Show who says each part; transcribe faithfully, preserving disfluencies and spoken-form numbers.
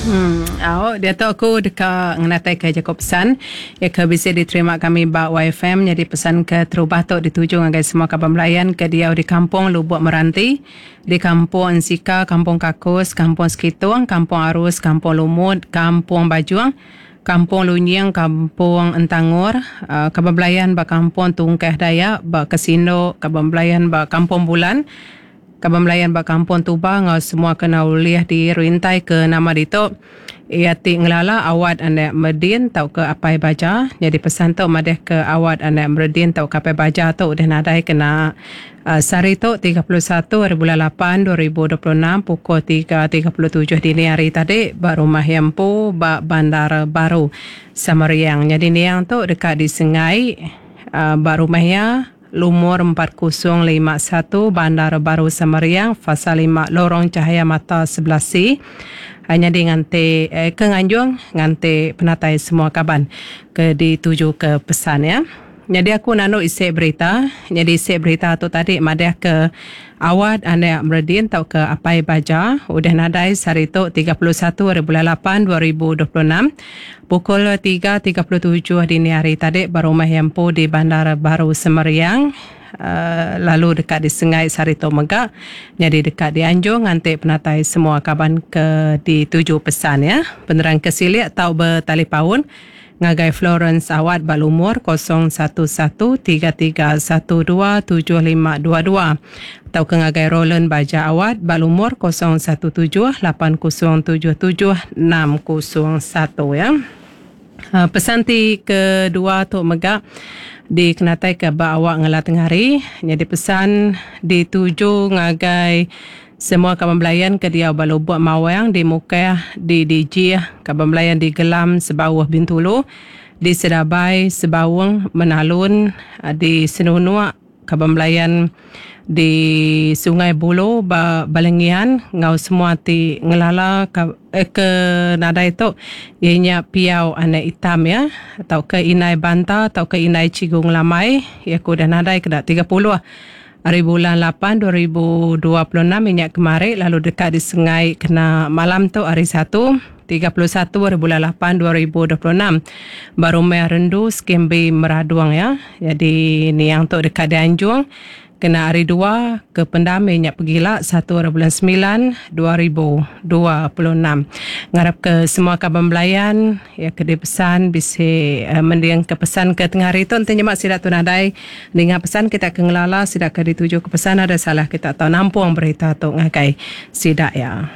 Speaker 1: Hmm, au diatu aku deka ngenataika jaku pesan iya ke bisi diterima kami ba Y F M. Nyadi pesan ke terubah tu dituju ngagai semua kaban belayan ke diau di Kampung Lubuk Meranti, di Kampung Ensika, Kampung Kakus, Kampung Sekitung, Kampung Arus, Kampung Lumut, Kampung Bajung, Kampung Lunying, Kampung Entangor, uh, kaban belayan ba Kampung Tungkeh Dayak, ba Kesindo, kaban belayan ba Kampung Bulan, kaban belayan ba Kampung Tuba ngau semua kena ulih dirintai ke nama ditu. Ia ti ngelala Awat anak Merdin tau ke Apai Baja. Jadi pesan tu madah ke Awat anak Merdin tau ke Apai Baja tu udah nadai kena uh, sehari tu tiga puluh satu hari bulan lapan dua ribu dua puluh enam pukul tiga tiga puluh tujuh dini hari tadi ba rumah Yempu ba Bandar Baru Samariang. Jadi niang tu dekat di Sengai uh, ba rumah ya lumur empat kosong lima satu Bandar Baru Samariang, Fasa lima Lorong Cahaya Mata sebelas C. Hanya di nganti eh, ke nganjung nganti penatai semua kaban ke dituju ke pesan ya. Jadi aku nanu isi berita. Jadi isi berita tu tadi madah ke Awat anak Merdin tau ke Apai Baja udah nadai sehari tu tiga puluh satu hari bulan lapan dua ribu dua puluh enam pukul tiga tiga puluh tujuh dini hari tadi ba rumah Yempu di Bandar Baru Semariang. Uh, lalu dekat di Sengai sehari tu mega. Jadi dekat di Anjung nganti penatai semua kaban ke dituju pesan ya. Penerang ke silik tau bertalipaun ngagai Florence Awat ba lumur kosong satu satu tiga tiga satu dua tujuh lima dua dua atau ke ngagai Roland Baja Awat ba lumur kosong satu tujuh lapan kosong tujuh tujuh enam kosong satu ya. Uh, pesan ti kedua tu mega dikenatai ke ba awak ngela tengah hari. Jadi pesan dituju ngagai semua kaban belayan ke diau ba Lubuk Mawang di Mukah, di Dijih, kaban belayan di Gelam Sebauh Bintulu, di Sedabai Sebaung Menalun, di Senunuk, kaban belayan di Sungai Bulu ba Balengian ngau semua ti ngelala ke, eh, ke nadai tu ianya Piau anak hitam ya atau ke Inai Banta atau ke Inai Cigung Lamai ya ku dah nadai kena tiga puluh hari bulan lapan dua ribu dua puluh enam minyak kemari lalu dekat di Sengai kena malam tu hari satu tiga puluh satu hari bulan lapan dua ribu dua puluh enam baru meh Rendu Skembi Meraduang ya. Jadi niang tu dekat di Anjung kena hari dua ke pendam minyak pegila satu hari bulan sembilan dua ribu dua puluh enam. Ngarap ke semua kaban belayan ya ke dipesan bisi uh, mendiang ke pesan ke tengah hari tu enti nyemak sidak tu nadai dengar pesan kita ke ngelala sidak ke dituju ke pesan ada salah kita tahu nampung berita tu ngagai sidak ya.